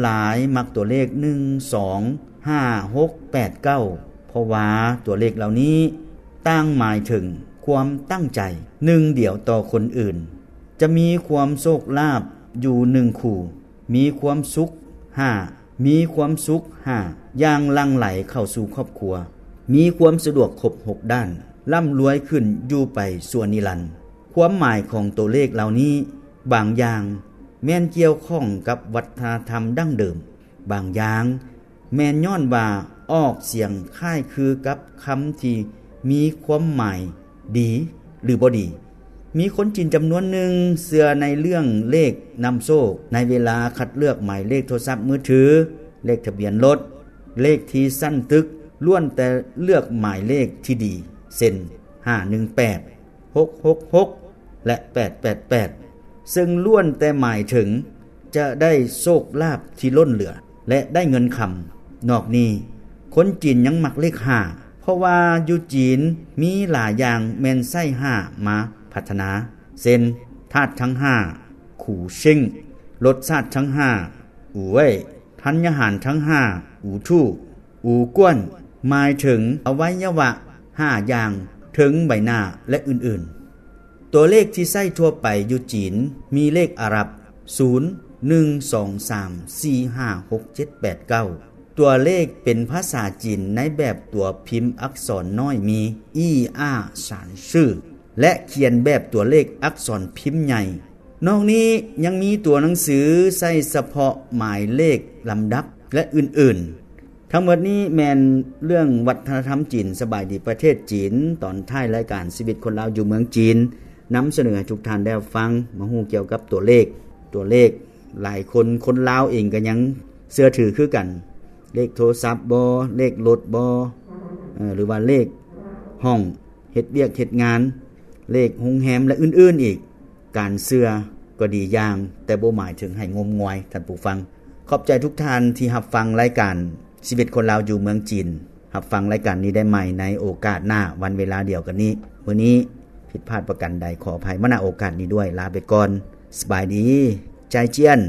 ຫຼາຍມັກຕົວເລກ ໜຶ່ງ ສອງ ຫ້າ ຫົກ ແປດ ເກົ້າ ເພາະວ່າຕົວເລກເຫຼົ່ານີ້ຕ່າງໝາຍເຖິງຄວາມຕັ້ງໃຈໜຶ່ງດຽວຕໍ່ຄົນອື່ນ. ຈະມີຄວາມໂຊກລາບຢູ່ໜຶ່ງຄູ່. ມີຄວາມສຸກ ຫ້າ ມີຄວາມສຸກ ຫ້າ ຢ່າງຫຼັ່ງໄຫຼເຂົ້າສູ່ຄອບຄົວ. ມີຄວາມສະດວກຄົບຫົກດ້ານ. ລ່ຳລວຍຂຶ້ນຢູ່ໄປຊົ່ວນິລັນ. ຄວາມໝາຍຂອງຕົວເລກເຫຼົ່ານີ້ ບາງຢ່າງແມ່ນກ່ຽວຂ້ອງກັບວັດທະນະທຳດັ້ງເດີມ, ບາງຢ່າງແມ່ນຍ້ອນວ່າອອກສຽງຄ້າຍຄືກັບຄຳທີ່ມີຄວາມໝາຍດີ ຫຼື ບໍ່ດີ. ມີຄົນຈີນຈຳນວນໜຶ່ງເຊື່ອໃນເລື່ອງເລກນຳໂຊກ. ໃນເວລາຄັດເລືອກໝາຍເລກໂທລະສັບມືຖື, ເລກທະບຽນລົດ, ເລກທີ່ຊັ້ນຕຶກ, ລ້ວນແຕ່ເລືອກໝາຍເລກທີ່ດີ ເຊັ່ນ ຫ້າໜຶ່ງແປດ, ຫົກຫົກຫົກ ແລະ ແປດແປດແປດ ເຊິ່ງລ້ວນແຕ່ໝາຍເຖິງຈະໄດ້ໂຊກລາບທີ່ລົ້ນເຫຼືອ ແລະ ໄດ້ເງິນຄຳ. ນອກນີ້, ຄົນຈີນຍັງມັກເລກຫ້າ ເພາະວ່າຢູ່ຈີນມີຫຼາຍຢ່າງແມ່ນໃຊ້ຫ້າມາພັດທະນາ ເຊັ່ນ ທາດທັງຫ້າ ຂູເຊິງ, ລົດຊາດທັງຫ້າ ອູເວີຍ, ທັນຍາຫານທັງຫ້າ ອູທູ, ອູກວນ ໝາຍເຖິງອະໄວຍະວະຫ້າຢ່າງເທິງໃບໜ້າ ແລະ ອື່ນໆ. ຕົວເລກທີ່ໃຊ້ທົ່ວໄປຢູ່ຈີນມີເລກອາຣັບ ສູນ ໜຶ່ງ ສອງ ສາມ ສີ່ ຫ້າ ຫົກ ເຈັດ ແປດ ເກົ້າ. ຕົວເລກເປັນພາສາຈີນໃນແບບຕົວພິມອັກສອນນ້ອຍມີ ອີ ອາ ສານ ຊື່ ແລະ ຂຽນແບບຕົວເລກອັກສອນພິມໃຫຍ່. ນອກນີ້ຍັງມີຕົວໜັງສືໃຊ້ສະເພາະໝາຍເລກລຳດັບ ແລະ ອື່ນໆ. ທັງໝົດນີ້ແມ່ນເລື່ອງວັດທະນະທຳຈີນ. ສະບາຍດີປະເທດຈີນ, ຕອນທ້າຍລາຍການຊີວິດຄົນລາວຢູ່ເມືອງຈີນ ນຳສະເໜີໃຫ້ທຸກທ່ານໄດ້ຮັບຟັງ ມາຮູ້ກ່ຽວກັບຕົວເລກ. ຕົວເລກຫຼາຍຄົນ, ຄົນລາວເອງກໍຍັງເຊື່ອຖືຄືກັນ. ເລກໂທລະສັບບໍ, ເລກລົດບໍ, ເອີ ຫຼືວ່າເລກຫ້ອງເຮັດວຽກເຮັດງານ, ເລກໂຮງແຮມ ແລະ ອື່ນໆອີກ. ການເຊື່ອກໍດີຢ່າງ, ແຕ່ບໍ່ໝາຍເຖິງໃຫ້ງົມງວາຍ, ທ່ານຜູ້ຟັງ. ຂອບໃຈທຸກທ່ານທີ່ຮັບຟັງລາຍການຊີວິດຄົນລາວຢູ່ເມືອງຈີນ. ຮັບຟັງລາຍການນີ້ໄດ້ໃໝ່ໃນໂອກາດໜ້າ, ວັນເວລາດຽວກັນນີ້. ມື້ນີ້ຜິດພາດປະການໃດ ຂໍອະໄພມາ ນະ ໂອກາດນີ້ດ້ວຍ. ລາໄປກ່ອນ. ສະບາຍດີ. ຈາຍຈຽນ.